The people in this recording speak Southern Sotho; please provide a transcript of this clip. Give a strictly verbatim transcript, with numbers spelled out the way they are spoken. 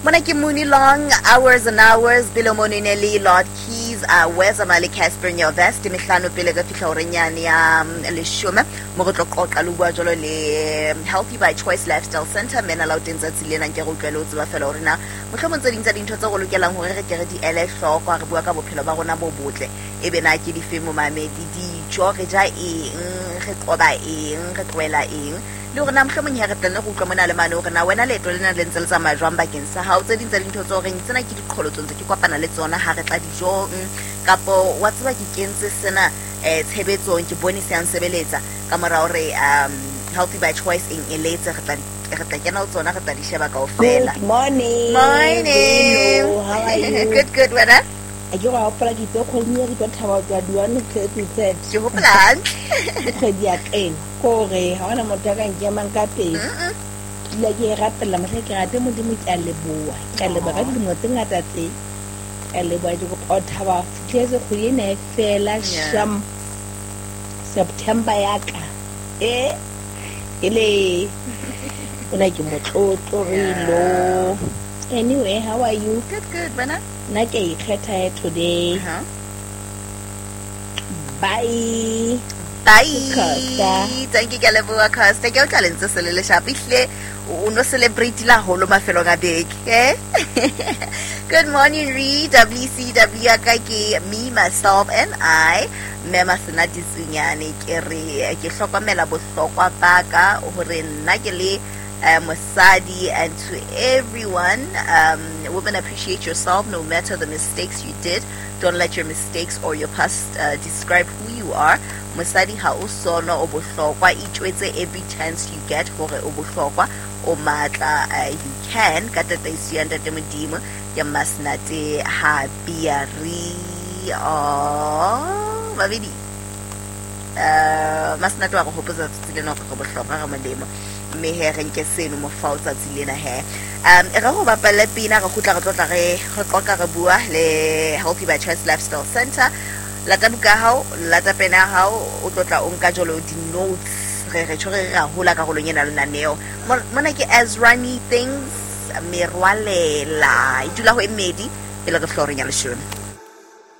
Mona ke Mooney Long, Hours and Hours, pele mono e ne le Lord Keys, uh, Weza Mali Casper Nyovest, mehlano pele ka fihla horeng yane ya mm, leshome, mo re tlo qoqa le bua jwalo le mm, Healthy by Choice Lifestyle Center, mena la o teng tsatsi lena nke re utlwele o tseba fela hore na mohlomong tse ding tsa dintho tse re lokelang hore re ke re di ele hloko ha re bua ka bophelo ba rona bo botle, e be na ke dife momamedi, dijo re ja eng, re qoba eng, re tlohela eng, le hore na mohlomong he re tla nne re utlwa mona le mane hore na wena leeto lena le ntse le tsamaya jwang bakeng sa hao. Tse ding tsa dintho tse horeng tsena ke diqholotso ntse ke kopana le tsona ha re tla dijong, kapo wa tseba ke kentse sena eh, tshebetsong, ke bone se yang sebeletsa ka mora hore um Healthy by Choice eng eletse, re tla re tla kena ho tsona, re tla di sheba kaofela. Good morning. Morning. Hello, how are you? Good, good, wena? A ke go hopola ke itse kgwedi e re tlo thaba ho tloha di-one ho fihla thirty. Ke hopola hantle. Ke kgwedi ya ka ena. Ke hore ha hona motho a ka nkemang ka pele. Ke dula ke e rapella mohla ke rate Modimo, ke a leboha. Ke a leboha ka dilemo tse ngata tse. Ke a leboha, ke kopa ho thaba ho fihletse kgwedi ena e fela, Yeah. sham. September ya ka. Eh, e le ona ke motlotlo re lo. Anyway, how are you? Good, good, wena? Nna ke a ikgetha he today. Uh-huh. Bye. Bye. Costa. Thank you, ke a leboha, Costa. Ke utlwa lentswe se le leshapo. Ehlile o no celebrate la haholo mafelong a beke, eh? Good morning, Re. W C W ya ka ke me, myself and I. Mme Masenate Tsunyane, ke re ke hlokomela bohlokwa ba ka hore nna ke le uh, mosadi, and to everyone, um, women, appreciate yourself no matter the mistakes you did. Don't let your mistakes or your past, uh, describe who you are. Mosadi ha o sono o bohlokwa, itjwetse every chance you get hore o bohlokwa, o matla, uh, you can. Ka tataiso ya Ntate Modimo, ke Masenate ha Biari. Oh, babedi. Uh, Masenate wa re hopotsa tsatsi lena hore re bohlokwa, re molemo. Mme he re nke seno mofao tsatsi lena he. Um, e re go bapalle pina, re kgutla re tlotla re, re qoqa re bua le Healthy by Choice Lifestyle Center. Lata buka ya hao, lata pene ya hao, o tlotla o nka jwalo di-notes. Re re tjho re re ra hola karolong ena lenaneo. Mo-, mona ke Azrani Things, Merwalela. E dula ho e mmedi, pele re fihla horeng ya leshome.